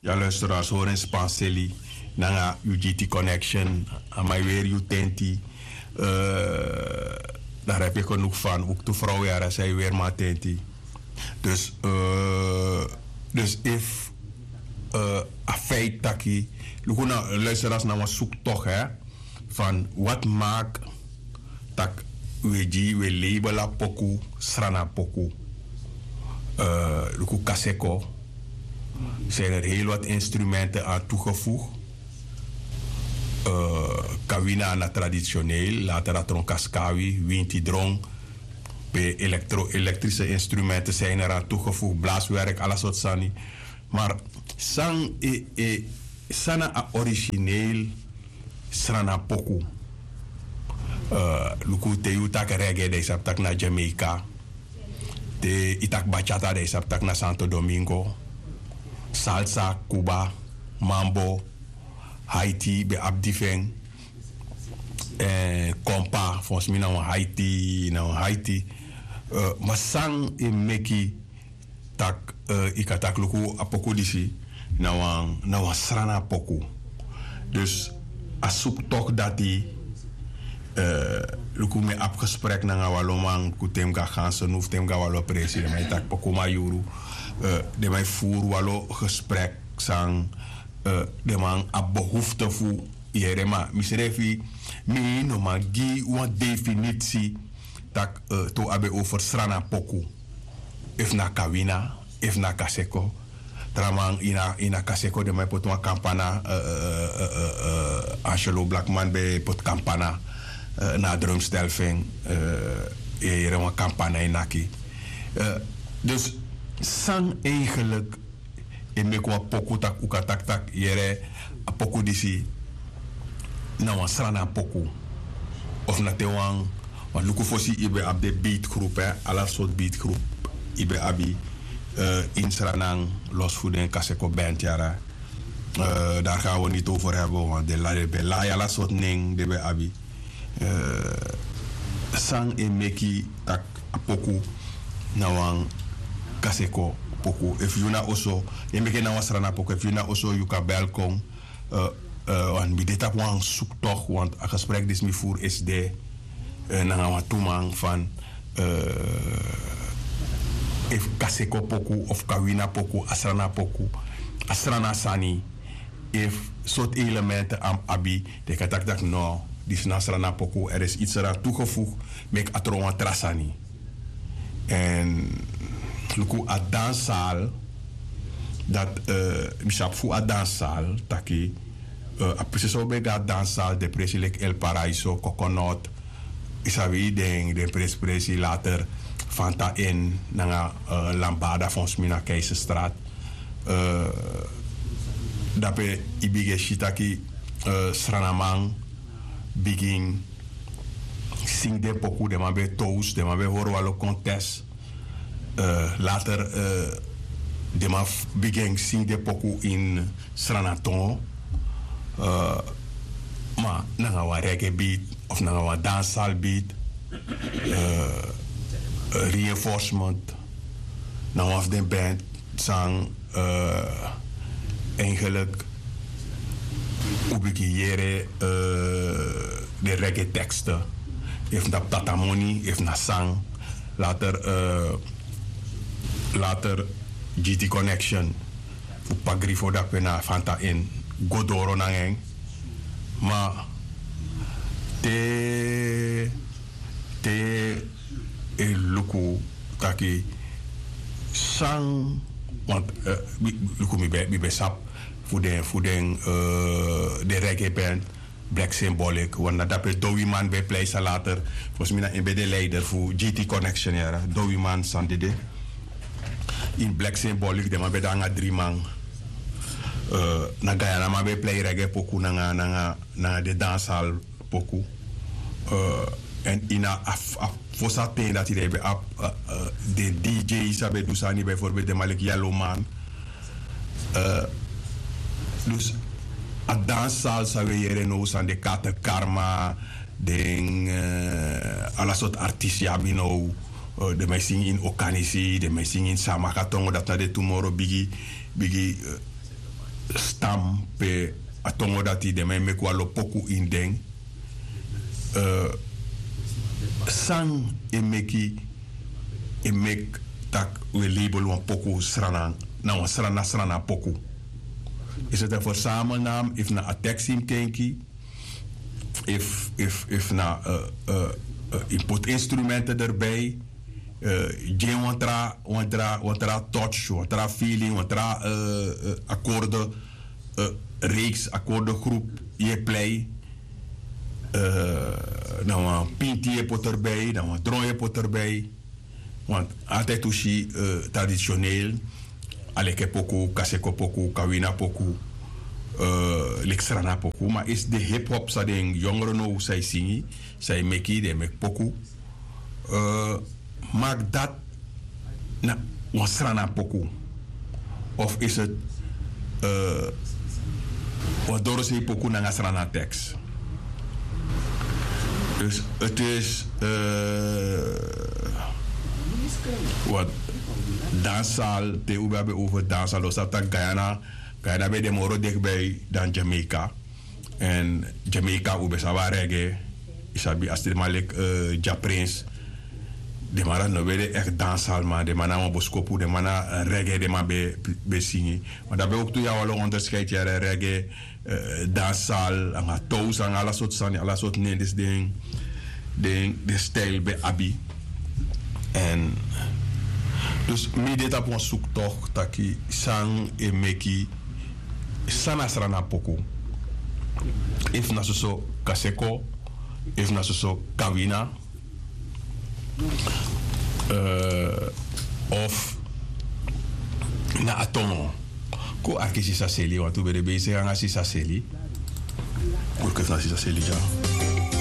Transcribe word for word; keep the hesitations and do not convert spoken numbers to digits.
Dan luisteraars, hori en spanseli nanga yu G T Connection. A man e weri yu tenti. Dara e peki o nuku fan uktu frow yara san e weri man tenti. Dus, dus efu a feit taki, luku na luisteraars, na wan suktok, hè, van wat maak tak' we gi we label a poku Srana poku. Luku Kaseko, zijn er heel wat instrumenten aan toegevoegd. Kawina na traditioneel, later a tron kaskawi, winti dron, pe elektro-elektrische instrumenten zijn er aan toegevoegd, blaaswerk, ala soort sani. Maar san e, e san na a origineel Srana poku? Luku, te yu taki reggae, dan yu sabi taki na Jamaica. Te yu taki bachata, dan yu sabi taki na Santo Domingo. Salsa, Cuba, mambo, Haiti ben abi di fu en. Kompa, volgens mi na wan Haiti, na wan Haiti. Ma san e meki tak' yu kan taki luku a poku disi na wan, na wan Srana poku. Dus a suktok dati, luku, mi e abi gesprek nanga wan lo man, ku te mi go na Gansenhof, te mi go na wan lo presi, den man e taki poku, ma yuru, den man e furu wan lo gesprek san den man abi behoefte fu yere. Ma misrefi, mi no man gi wan definitie tak' te un abi over Srana poku, efu na Kawina, efu na Kaseko. Tra man, ini a, ini a Kaseko den man e poti wan kampana, Angelo Blackman ben poti kampana na a drumstel fu en, yere wan kampana e naki. Dus san eigenlijk e meki wan poku tak' un kan taki tak' yere, a poku disi na wan Srana poku? Of na te wan, wan luku fosi yu ben abi den beatgroep, hè, ala soort beatgroep yu ben abi, ini Sranan, los fu den Kaseko band yara. Daar gaan we niet over hebben, want den la, den ben lai, ala soort nen den ben abi. San e meki tak' a poku na wan Kaseko poku? Efu yu na oso, e meki na wan Srana poku, efu yu na oso yu kan bel kon. Want mi de tapu wan suktok, want a gesprek disi mi furu esde nanga wan tu man fan, efu Kaseko poku of Kawina poku a Srana poku, a Srana sani, efu sortu elementen a mus abi, den kan taki tak' no, disi na Srana poku, er is iets eraan toegevoegd, meki a tron wan tra sani. En luku a danszaal, dat, mi sabi fu a danszaal taki, a presi san un ben go na danszaal, den presi leki El Paraiso, Coconut, yu sabi, den, den presi presi, later Fanta Inn nanga Lambada, volgens mi na Keizerstraat. Dape yu bigin e si taki Sranaman bigin singi den poku, den man ben e toast, den man ben e hori wan lo contest. Later den man bigin singi den poku in Sranatongo, ma nanga wan reggae beat of nanga wan danszaal beat. Reinforcement na wan fu den band san, eigenlijk, un bigin yere den reggae teksten. Efu na tatamoni, efu na san. Later, later G T Connection fu Pagrifo, dape na Fanta Inn go doro nanga en. Ma te, te e luku taki san, want luku, mi ben, mi ben sabi fu den, fu den, den reggae band Black Symbolic, want na dape Dowiman ben e plei, san later, volgens mi na en ben de leider fu G T Connection yara. Dowiman san dede. In Black Symbolic den man ben de nanga dri man. Na Guyana man ben e plei reggae poku nanga, nanga, nanga den danszaal poku. En ini a, a fosi ten dati den ben abi den D J san ben du sani, bijvoorbeeld den man leki Yellowman. Dus a danszaal san we yere now, san den Kater Karma, den ala sortu artisti abi now. Den man e singi in Okanisi, den man e singi in Saamaka tongo, dati na den tu moro bigi, bigi, stam pe a tongo dati den man e meki wan lo poku ini den. San e meki e meki tak' wi e label wan poku srana na wan srana srana poku? Is het een verzamelnaam efu na a tekst yu mus kenki? Efu na yu poti instrumenten derbi, gi en wan tra wan tra wan tra touch wan tra feeling wan tra akorde, reeks akorde groep yu e plei. Na wan pinti yu e poti derbi na wan dron yu e poti derbi. Want altijd un si tradisioneel, aleke poku kaseko poku kawina poku, leki srana poku ma is de hip hop san den yongre now san e singi, san e meki den e meki poku. Maki dati na wan srana poku of is het wan dorosei poku nanga srana teks? Dus het is wat dansal te un ben abi over dansal dan sabi taki guyana, guyana ben de moro dikbi dan jamaica. En jamaica un ben sabi a reggae. Yu sabi a stiman leki japrins. Den man dati no ben de ekti dansal man den man na wan boskopu den man na reggae den man ben singi. Ma dan ben oktu yawalo onderskeid yere reggae, dansal nanga tows nanga ala sortu sani ala sortu nen disi den den stijl ben abi. En dus mi de tapu wan suktok taki san e meki san na srana poku? Efu na soso kaseko, efu na soso kawina, of na a tongo. Kon arki sisa seli wantu ben de ben yu segi nanga sisa seli. Kon arki sisa seli dya.